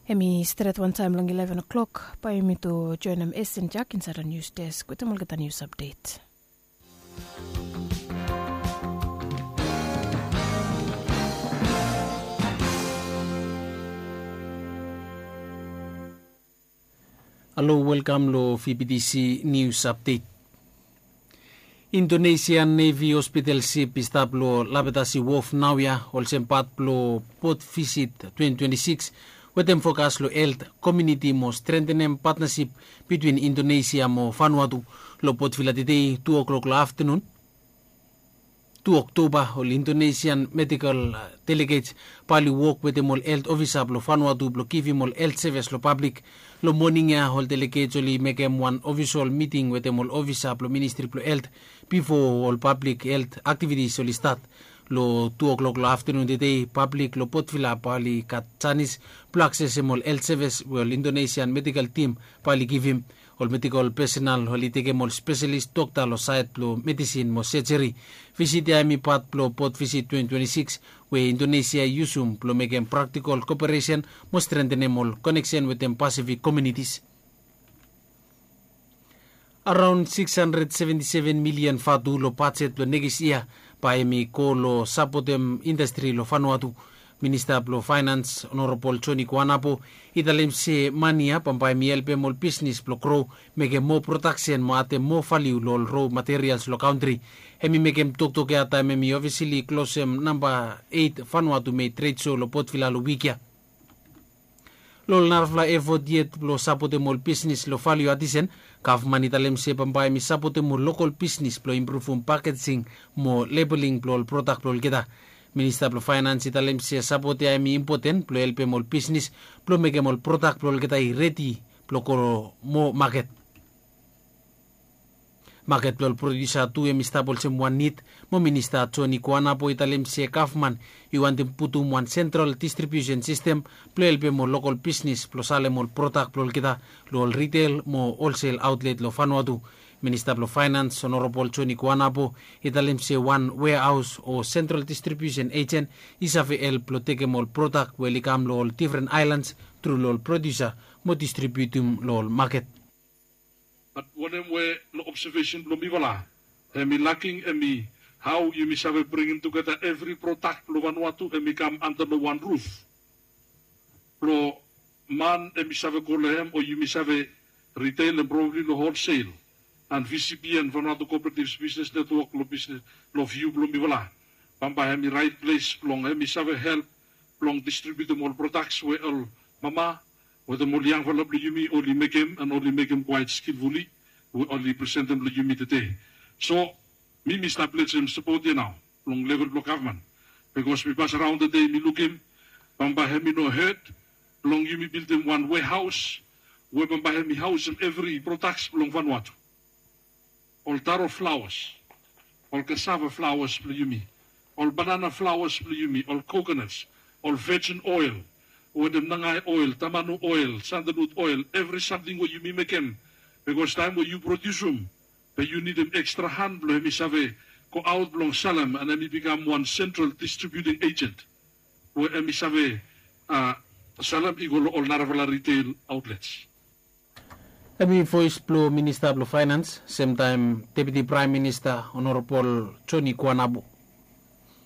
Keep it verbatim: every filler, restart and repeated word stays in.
Hemi stret wantaem long eleven o'clock bae yumi tu joenem Esten Jak insaed long nius desk wetem olgeta nius apdet. Halo, welkam long V B T C News Update. Indonesia Navy Hospital Ship i stap long Lapetasi Wharf naoia olsem pat blong Port Visit twenty twenty-six, wetem fokas long helt, komuniti mo strentenem patnasip bitwin Indonesia mo Vanuatu. Long Port Vila tedei tu o'clock long aftenun, tu Oktoba, ol Indonesian medical delegets bae oli wok wetem ol helt ofisa blong Vanuatu blong givim ol helt sevis long pablik. Long moning ya ol delegets oli mekem wan ofisol miting wetem ol ofisa blong Ministri blong Helt bifo ol pablik helt aktivitis oli stat. Long tu o'clock long aftenun tedei pablik long Port Vila bae oli gat janis blong aksesem ol helt sevis we ol Indonesian medical tim bae oli givim. Ol medical pesenal oli tekem ol spesalis dokta long saed blong medisin mo sejeri. Visit ya hemi pat blong Port Visit twenty twenty-six we Indonesia i yusum blong mekem praktikol koperesen mo strentenem ol koneksen wetem Pasifik komunitis. Araon sikis handred seventi seven milian vatu long bajet blong nekis yia bae hemi go long sapotem indastri long Vanuatu. Minista blong Faenans Honorabol Joni Kuanapo i talem se mane ya bambae hemi helpem ol bisnis blong gro, mekem moa prodaksen mo adem moa valiu long ol ro materials long kantri. Hemi mekem toktok ya taem hemi ofisili klosem namba eit Vanuatu Made Trade Show long Port Vila long wik ya. Long ol narafala efot yet blong sapotem ol bisnis long valiu adisen, gavman i talem se bambae hemi sapotem ol lokol bisnis blong impruvum pakejing mo lebeling blong ol prodak blong olgeta. Minista blong Faenans i talem se sapot ya hemi impoten blong helpem ol bisnis blong mekem ol prodak blong olgeta i redi blong go moa maket. Maket blong ol prodiusa tu hemi stap olsem wan nid, mo Minista Joni Kuanapo i talem se gavman i wantem putum wan sentral distribiusen sistem blong helpem ol lokol bisnis blong salem ol prodak blong olgeta long ol ritel mo holsel aotlet long Vanuatu. Minista blong Faenans Honorabol Joni Kuanapo i talem se wan weahaos o sentral distribiusen ejen i save help blong tekem ol prodak we oli kam long ol difren aelans tru long ol prodiusa mo distribiutum long ol maket. Bat wanem we long obsevesen blong mifala hemi laking hemi hao yumi save bringim tugeta evri prodak blong Vanuatu hemi kam anta long wan ruf blong man hemi save go long hem o yumi save riteil and probably long holsel. And V C B and Vanuatu Cooperatives Business Network long bisnes long viu blong mifala bambae hemi raet ples blong hemi save help blong distribiutum ol prodaks we ol mama wetem ol yangfala blong yumi oli mekem and oli mekem kwaet skilfuli we oli presentem long yumi tede. So mi mi stap lejem sapot ya nao long level blong gavman, bikos mi pasaraon tede mi lukim bambae hemi no hed blong yumi bildim wan wehaos we bambae hemi haosem evri prodaks blong Vanuatu. Ol taro flaoas, ol kasava flaoas blong yumi, ol banana flaoas blong yumi, ol kokonas, ol vejin oel wetem nangae oel, tamanu oel, sandalut oel, evri samting we yumi mekem. Bikos taem we yu prodiusum be yu nidim ekstra han blong hemi save goaot blong salem and hemi bikam wan sentral distribiuting ejent we hemi save a salem i go long ol narafala riteil aotlets. Hemi voes blong Minista blong Faenans, semtaem Deputi Praem Minista Honorabol Joni Kuanapo.